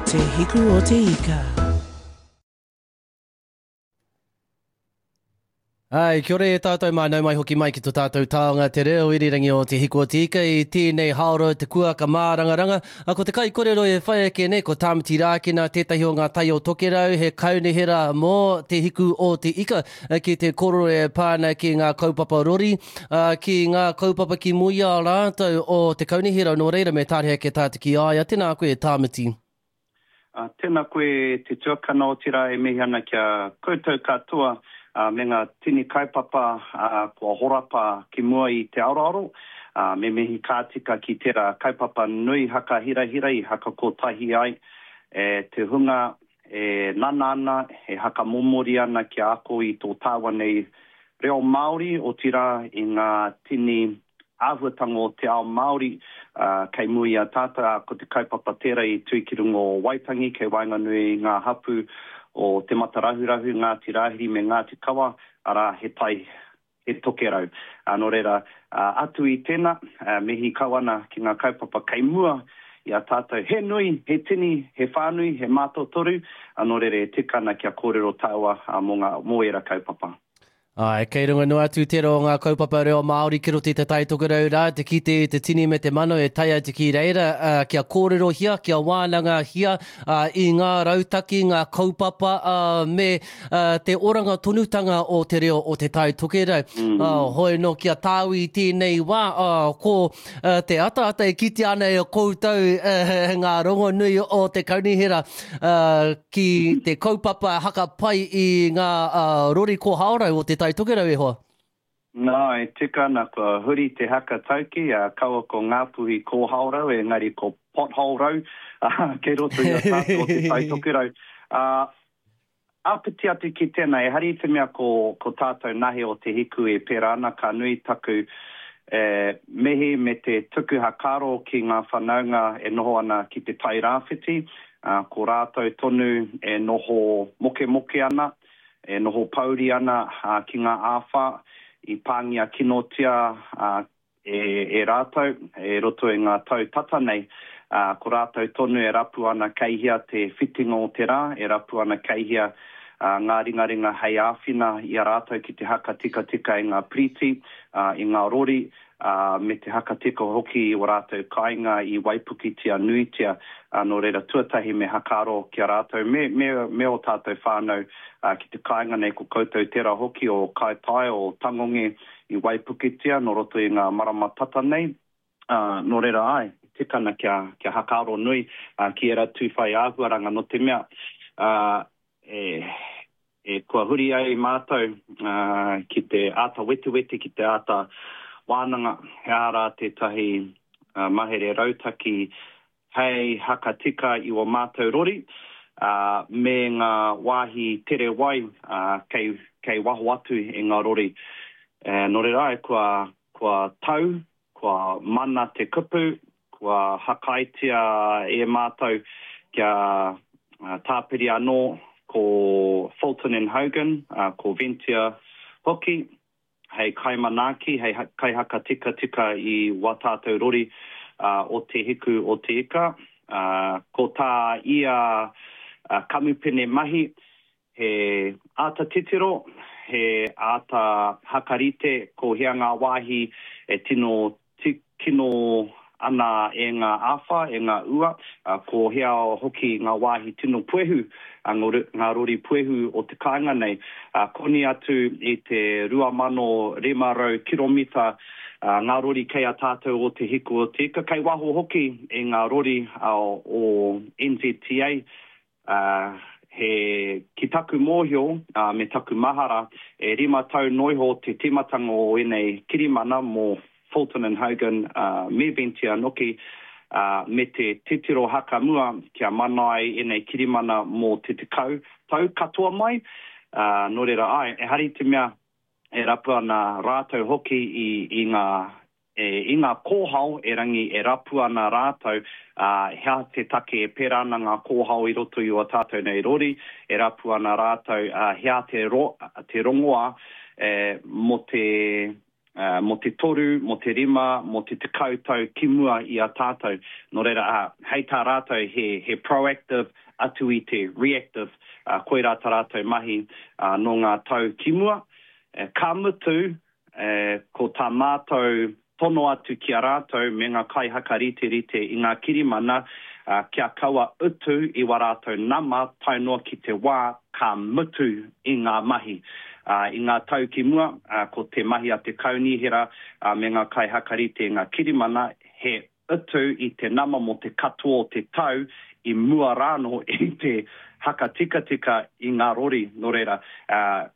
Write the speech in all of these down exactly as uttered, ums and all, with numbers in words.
Te Hiku o Te Ika. Ai, kia ora e tātou mā, nau mai hoki mai ki tō tātou taonga te reo irirangi o Te Hiku o Te Ika i tēnei haora te kuaka mārangaranga. A, ko te kaikorero e whai ake nei, ko Tāmati Rākena, tētahi o ngā tai o Tokerau, he kaunihera mō Te Hiku o Te Ika ki te korero e pā ana ki ngā kaupapa rori, a, ki ngā kaupapa ki mua i a rātou o te kaunihera. Nō reira me tāreha ake tātou ki a ia. Tēnā koe, Tāmati. Uh, tēnā koe te tuakana, otirā e mihi ana ki a koutou katoa uh, me ngā tini kaupapa uh, kua horapa ki mua i te aroaro. Uh, me mihi ka tika ki tērā kaupapa nui hakahirahira i hakakotahi ai e te hunga e nana ana, e hakamomori ana kia ako i tō tāua nei reo Māori, otirā i ngā tini āhuatanga o te ao Māori uh, kei mua i a tātou, ā, ko te kaupapa tērā i tū ki runga o Waitangi, kei waenganui i ngā hapū o Te Matarahurahu, Ngāti Rāhiri me Ngāti Kawa, arā, he tai, he tokerau. Uh, nō reira, uh, atu i tēnā, uh, mihi kau ana ki ngā kaupapa kei mua i a tātou. He nui, he tini, he whānui, he mātotoru, uh, nō reira e tika ana kia kōrero tāua uh, mō ngā, mō ērā kaupapa. Ai, kei runga noa atu tērā o ngā kaupapa reo Māori ki roto i te Tai Tokerau rā, te kite i te tini me te mano e tae atu ki reira, uh, kia kōrerohia, kia wānangahia, uh, i ngā rautaki, ngā kaupapa, uh, me, uh, te oranga tonutanga o te reo o te Tai Tokerau. Mm. Uh, hoi no kia tāu i tēnei wā, uh, ko, uh, te ataata e kitea ana e koutou, uh, ngā rongonui o te kaunihera, uh, ki te kaupapa hakapai i ngā, uh, rori kōhaorau o te Tai Tokerau e hoa. Nā, e tika ana kua huri te haka tauki, a kaua ko Ngāpuhi kōhaorau, engari ko potholerau, uh, kei roto i a tātou o te Tai Tokerau. Uh, āpiti atu ki tēnā, e hari te mea ko, ko tātou nahe o Te Hiku e pērā ana, ka nui taku e, mihi me te tuku hakaro ki ngā whanaunga e noho ana ki te Tai Rāwhiti, uh, ko rātou tonu e noho mokemoke ana, e noho pauri ana, uh, ki ngā āwhā i pāngia kinotia, uh, e, e rātou, e roto i ngā tau tata nei. Uh, ko rātou tonu e rapu ana kei hea te whitinga o te rā, e rapu ana kei hea, uh, ngā ringaringa hei āwhina i a rātou ki te haka tikatika i ngā piriti, uh, i ngā rori, uh, me te haka tika hoki i o rātou kāinga i waipukitia nuitia. Uh, nō reira tuatahi me hakaro ki a rātou, me, me, me o tātou whānau, uh, ki te kāinga nei ko koutou tērā hoki o Kaitai, o Tangonge i waipukitia nō roto i ngā marama tata nei. Uh, nō reira ai, tikana kia, kia hakaro nui, uh, ki era tūwhai āhuaranga nō te mea, uh, e, e kua huri ai mātou, uh, ki te āta wetewete, ki te āta wānanga, he aha rā tētahi, uh, mahere rautaki hei hakatika i o mātou rori, uh, me ngā wāhi tere wai, uh, kei, kei waho atu i ngā rori. E, nō reira ai, kua, kua tau, kua mana te kupu, kua hakaitia e mātou kia, uh, tāpiri anō ko Fulton and Hogan, uh, ko Ventia hoki, hei kaimanaaki, hei ha-, kaihakatikatika i wā tātou rori, uh, o Te Hiku o Te Ika. Uh, ko tā ia, uh, kamupene mahi, he āta titiro, he āta hakarite ko hea ngā wāhi e tino kino ana e ngā āwhā, e ngā ua, uh, ko hea hoki ngā wāhi tino puehu, uh, ngā ro-, ngā rori puehu o te kāinga nei. Uh, koni atu i te rua mano rima rau kiromita, uh, ngā rori kei a tātou o Te Hiku o Te Ika, kei waho hoki i ngā rori, uh, o N Z T A, uh, he ki taku mōhio, uh, me taku mahara, e rima tau noiho te tīmatanga o ēnei kirimana mō Fulton and Hogan, uh, me Ventia noki, uh, me te titiro hakamua kia mana ai ēnei kirimana mō te tekau tau katoa mai. Uh, nō reira ai, e hari te mea e rapu ana rātou hoki i, i ngā, e, i ngā kōhao e rangi e rapu ana rātou, uh, hea te take e pērā ana ngā kōhao i roto i o tātou nei rori, e rapu ana rātou, uh, hea te, ro, te rongoa, e, mō te, uh, mō te toru, mō te rima, mō te tekau tau ki mua i a tātou. Nō reira, uh, hei tā rātou he, he proactive atu i te reactive, uh, koirā tā rātou mahi uh, nō ngā tau ki mua. Uh, ka mutu, uh, ko tā mātou tono atu ki a rātou me ngā kaihakariterite i ngā kirimana, uh, kia kaua utu i wā rātou nama tae noa ki te wā ka mutu i ngā mahi. Uh, i ngā tau ki mua, uh, ko te mahi a te kaunihera uh, me ngā kaihakarite i ngā kirimana, he utu i te nama mō te katoa o te tau i mua rānō i te hakatikatika i ngā rori. Nō reira, uh,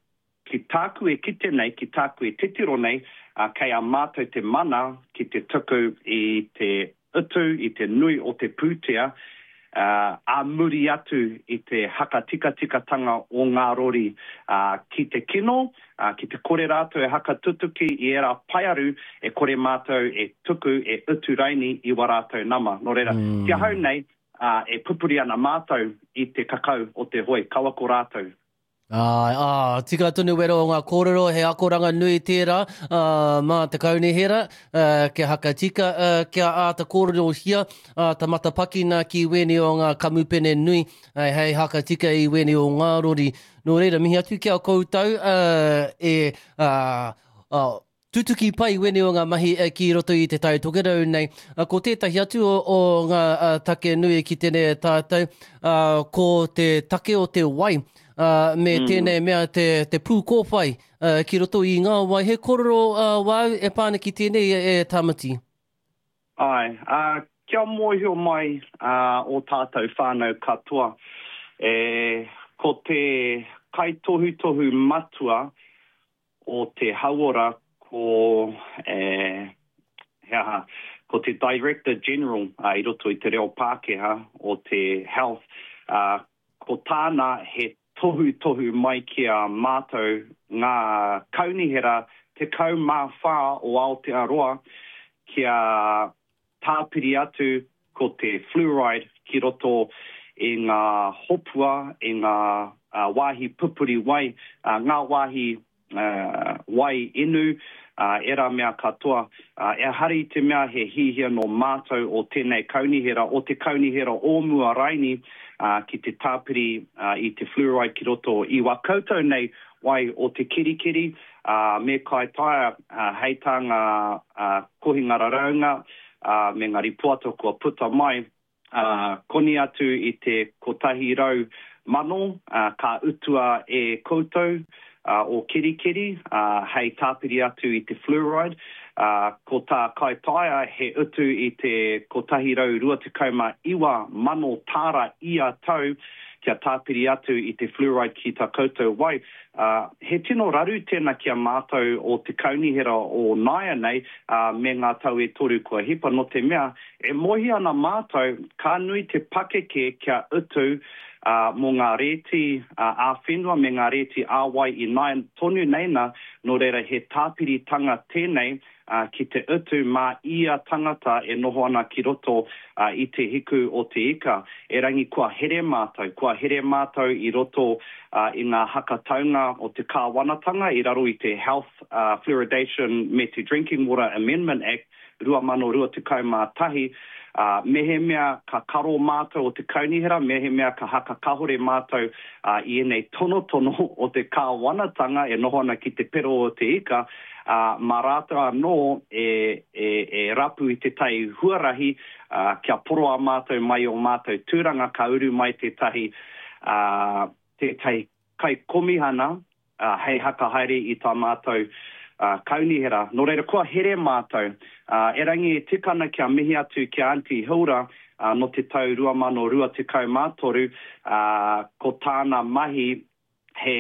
ki tāku e kite nei, ki tāku e titiro nei, uh, kei a mātou te mana ki te tuku i te utu, i te nui o te pūtea, uh, a muri atu i te hakatikatikatanga o ngā rori uh, ki te kino, uh, ki te kore rātou e hakatutuki i ērā paearu e kore mātou e tuku, e utu raini i wā rātou nama. Nō reira, mm. ki ahau nei, uh, e pupuri ana mātou i te kakau o te hoi, kaua ko rātou. Ā, ā, tika tonu wero o ngā kōrero, he akoranga nui tērā ā, mā te kaunihera, ā, kia hakatika, ā, kia āta kōrerohia, āta matapakina ki wēnei o ngā kamupene nui, ā, hei hakatika i wēnei o ngā rori. Nō reira, mihi atu ki a koutou, ā, e, ā, ā, tutuki pai wēnei o ngā mahi ki roto i te Tai Tokerau nei. Ko tētahi atu o, o ngā take nui ki tēnei tātou, ā, ko te take o te wai, uh, me mm. tēnei mea te, te pūkōwhai uh, ki roto i ngā wai. He kōrero uh, wāu e pā ana ki tēnei e, e Tāmati? Ai, uh, kia mōhio mai uh, o tātou whānau katoa. E, ko te kaitohutohu matua o te hauora ko, e, he aha, ko te Director General uh, i roto i te reo Pākehā o te Health, uh, ko tāna he tohutohu mai ki a mātou ngā kaunihera tekau mā whā o Aotearoa kia tāpiri atu ko te fluoride ki roto i ngā hopua, i ngā uh, wāhi pupuri wai, uh, ngā wāhi uh, wai inu, uh, era mea katoa. Uh, ehara i te mea he hihia no mātou o tēnei kaunihera, o te kaunihera o mua raini, uh, ki te tāpiri uh, i te fluoride ki roto i wā koutou nei wai o te kirikiri, uh, me Kaitaia, uh, hei tā ngā uh, kohinga raraunga uh, me ngā ripoata kua puta mai, uh, koni atu i te kotahi rau mano uh, ka utua e koutou uh, o kirikiri uh, hei tāpiri atu i te fluoride. Uh, ko tā Kaitaia he utu i te kotahi rau rua tekau mā iwa mano tāra ia tau kia tāpiri atu i te fluoride ki tā koutou wai. Uh, he tino raru tēnā ki a mātou o te kaunihera o nāianei uh, me ngā tau e toru kua hipa, no te mea e mohi ana mātou ka nui te pakeke kia utu uh, mō ngā rēti uh, ā-whenua me ngā rēti ā-wai i nāia tonu nei nā, nō reira he tāpiritanga tēnei uh, ki te utu mā ia tangata e noho ana ki roto uh, i te hiku o te ika. Erangi kua here mātou, kua here mātou i roto uh, i ngā hakataunga o te kāwanatanga i raro i te Health uh, Fluoridation me te Drinking Water Amendment Act rua mano rua tekau mā tahi. Uh, mehemea ka karo mātou o te kaunihera, mehemea ka hakakahore mātou uh, i ēnei tonotono o te kāwanatanga e noho ana ki te pero o te ika, uh, mā rātou anō e, e, e rapu i te tai huarahi uh, kia poroa mātou mai o mātou tūranga ka uru mai tētahi, uh, tētahi kaikomihana uh, hei hakahaere i tā mātou uh, kaunihera. Nō reira, kua here mātou. Uh, erangi e tika ana kia mihi atu ki a Aunty Hilda uh, no te tau rua mano rua tekau mā toru, uh, ko tāna mahi he,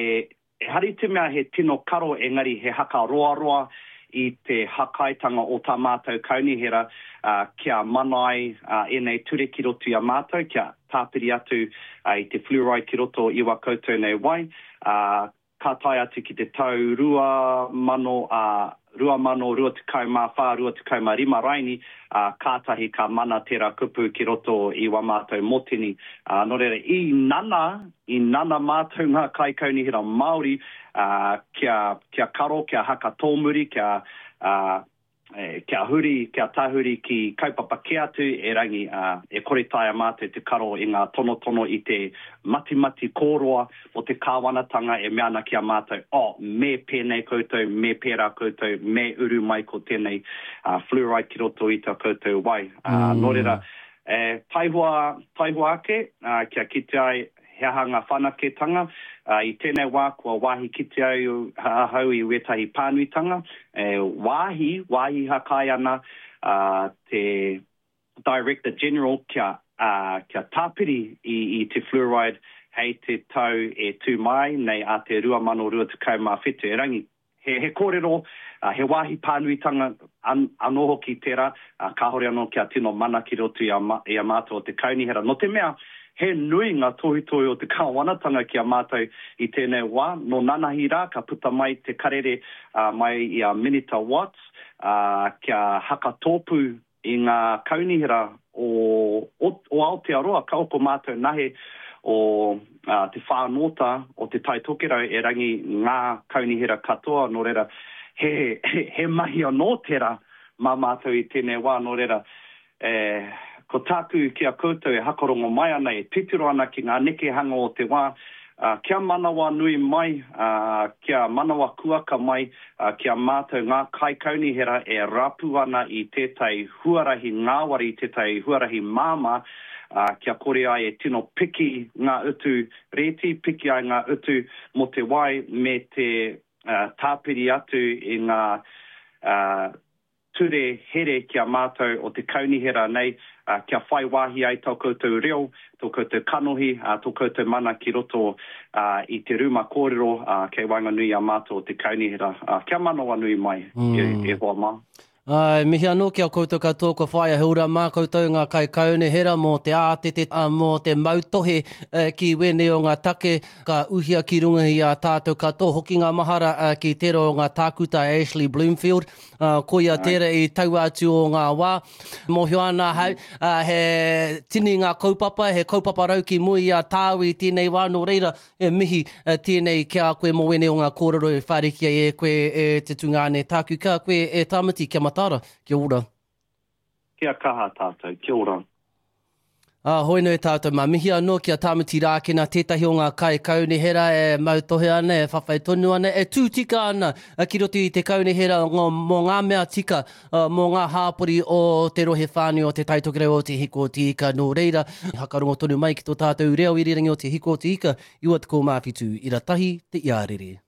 ehara i te mea he tino karo engari he haka roaroa i te hakaitanga o tā mātou kaunihera uh, kia mana ai uh, ēnei ture ki roto i a mātou, kia tāpiri atu uh, i te fluoride ki roto i wā koutou nei wai. Uh, ka tae atu ki te tau rua mano, uh, rua mano rua tekau mā whā, rua tekau mā rima raini, uh, kātahi ka mana tērā kupu ki roto i wā mātou motini. Uh, nō reira, i nana, i nana mātou ngā kaikaunihera Māori, uh, kia, kia karo, kia haka tōmuri, kia uh, e, kia huri, kia tahuri ki kaupapa kē atu, erangi uh, e kore taea mātou te karo i ngā tonotono i te matimati kōroa o te kāwanatanga e mea ana ki a mātou, oh, me pēnei koutou, me pērā koutou, me uru mai ko tēnei uh, fluoride ki roto i tā koutou wai. Uh, mm. Nō reira, e, taihoa, taihoa ake, uh, kia kite ai he aha ngā whanaketanga. Uh, i tēnei wā kua wāhi kite au ahau i wētahi pānuitanga. E, wāhi, wāhi hakai ana uh, te Director General kia, uh, kia tāpiri i, i te fluoride hei te tau e tū mai nei a te rua mano rua tekau mā whitu. Erangi, he, he kōrero, uh, he wāhi pānuitanga an, anō hoki tērā, uh, kāhore anō kia tino mana ki roto i a, ma, i a mātou o te kaunihera. Nō te mea, he nui ngā tohutohu o te kāwanatanga ki a mātou i tēnei wā. Nō nanahi rā, ka puta mai te karere uh, mai i a Minita Watts, uh, kia hakatōpū i ngā kaunihera o, o, o Aotearoa, ka oko mātou nahe o uh, te whānōta o te Tai Tokerau e rangi ngā kaunihera katoa, nō reira, he, he, he mahi anō tērā mā mātou i tēnei wā, nō reira, e, ko tāku ki a koutou e hakarongo mai ana, e titiro ana ki ngā nekehanga o te wā, uh, kia manawa nui mai, uh, kia manawa kuaka mai, uh, kia mātou ngā kaikaunihera e rapu ana i tētahi huarahi ngāwari, tētahi huarahi māmā, uh, kia kore ai e tino piki ngā utu rēti, piki ai ngā utu mō te wai me te uh, tāpiri atu i ngā uh, ture here ki a mātou o te kaunihera nei, uh, kia whai wāhi ai tō koutou reo, tō koutou kanohi, uh, tō koutou mana ki roto uh, i te ruma kōrero uh, kei waenganui a mātou o te kaunihera. Uh, kia manawa nui mai, mm. e, e hoa mā. Ai, mihi anō ki a koutou katoa kua whaia he ura mā koutou ngā kaikaunihera mō te ātete, mō te mautohe ki wēnei o ngā take ka uhia ki runga i a tātou katoa. Hoki ngā mahara ki tērā o ngā tākuta Ashley Bloomfield, koia tērā i taua atu o ngā wā. Mōhio ana ahau, he tini ngā kaupapa, he kaupapa rau ki mua i a tāu i tēnei wā, nō reira e mihi tēnei ki a koe mō wēnei o ngā kōrero e whārikia e koe e te tungāne tāku ka koe e Tāmati, kia matara, kia ora. Kia kaha tātou, kia ora. Ah, hoi nui tātou, mā mihi anō ki a Tāmati Rākena, tētahi o ngā kaikaunihera e mautohe ana, e whawhai tonu ana, e tū tika ana ki roto i te kaunihera mō ngā mea tika, mō ngā hāpori o te rohe whānui o te Tai Tokerau o Te Hiko o Te Ika. Nō reira, hakarongo tonu mai ki tō tātou reo irirangi o Te Hiko o Te Ika, iwa tekau mā whitu, ira tahi te iarere.